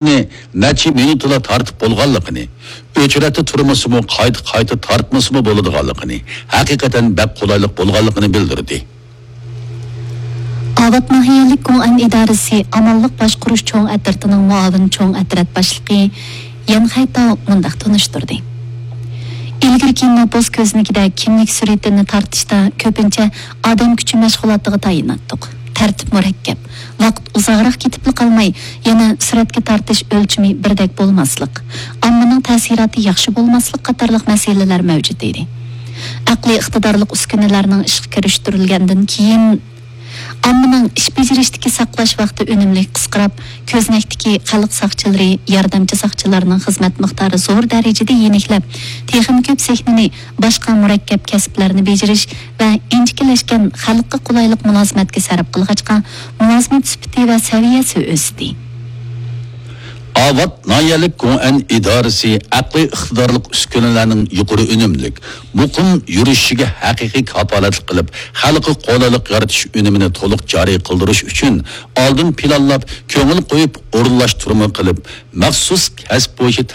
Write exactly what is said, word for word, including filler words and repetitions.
نەچچە مىنۇتلا تارتىپ بولغانلىقىنى، ئۆچرەتتە تۇرمىسىمۇ، قايتا-قايتا تارتمىسىمۇ بولىدىغانلىقىنى، ھەقىقەتەن بەك قولايلىق بولغانلىقىنى بىلدۈردى. ئاۋات ناھىيەلىك گوڭئەن ئىدارىسى ئامانلىق باشقۇرۇش چوڭ ئەترىتىنىڭ مۇئاۋىن چوڭ ئەترەت باشلىقى يەن خەيتاۋ مۇنداق تونۇشتۇردى. ئىلگىرىكى نوپۇس كۆزنىكىدە كىملىك سۈرىتىنى تارتىشتا كۆپىنچە ئادەم كۈچى مەشغۇلاتىغا تايىناتتۇق. تەرتىپ مۇرەككەپ. ۋاقىت ئۇزاقراق كېتىپلا قالماي، يەنە سۈرەتكە تارتىش ئۆلچىمى بىردەك بولماسلىق، ئاممىنىڭ تەسىراتى ياخشى بولماسلىق قاتارلىق مەسىلىلەر مەۋجۇت ئىدى. ئەقلىي ئىقتىدارلىق ئۈسكۈنىلەرنىڭ ئىشقا كىرىشتۈرۈلگەندىن كېيىن، ئاممىنىڭ ئىش بېجىرىشتىكى ساقلاش ۋاقتى ئۈنۈملۈك قىسقىراپ، كۆزنەكتىكى خەلق ساقچىلىرى، ياردەمچى ساقچىلارنىڭ خىزمەت مىقدارى زور دەرىجىدە يېنىكلەپ، تېخىمۇ كۆپ زېھنىنى باشقا مۇرەككەپ كەسىپلەرنى بېجىرىش ۋە ئىنچىكىلەشكەن خەلققە قولايلىق مۇلازىمەتكە سەرپ قىلغاچقا، مۇلازىمەت سۈپىتى ۋە سەۋىيەسى ئۆستى. ئاۋات ناھىيەلىك گوڭئەن ئىدارىسى ئەقلىي ئىقتىدارلىق ئۈسكۈنىلەرنىڭ يۇقىرى ئۈنۈملۈك، مۇقىم يۈرۈشۈشىگە ھەقىقىي كاپالەتلىك قىلىپ، خەلققە قولايلىق يارىتىش ئۈنۈمىنى تولۇق جارى قىلدۇرۇش ئۈچۈن ئالدىن پىلانلاپ، كۆڭۈل قويۇپ ئورۇنلاشتۇرما قىلىپ، مەخسۇس كەسىپ بويىچە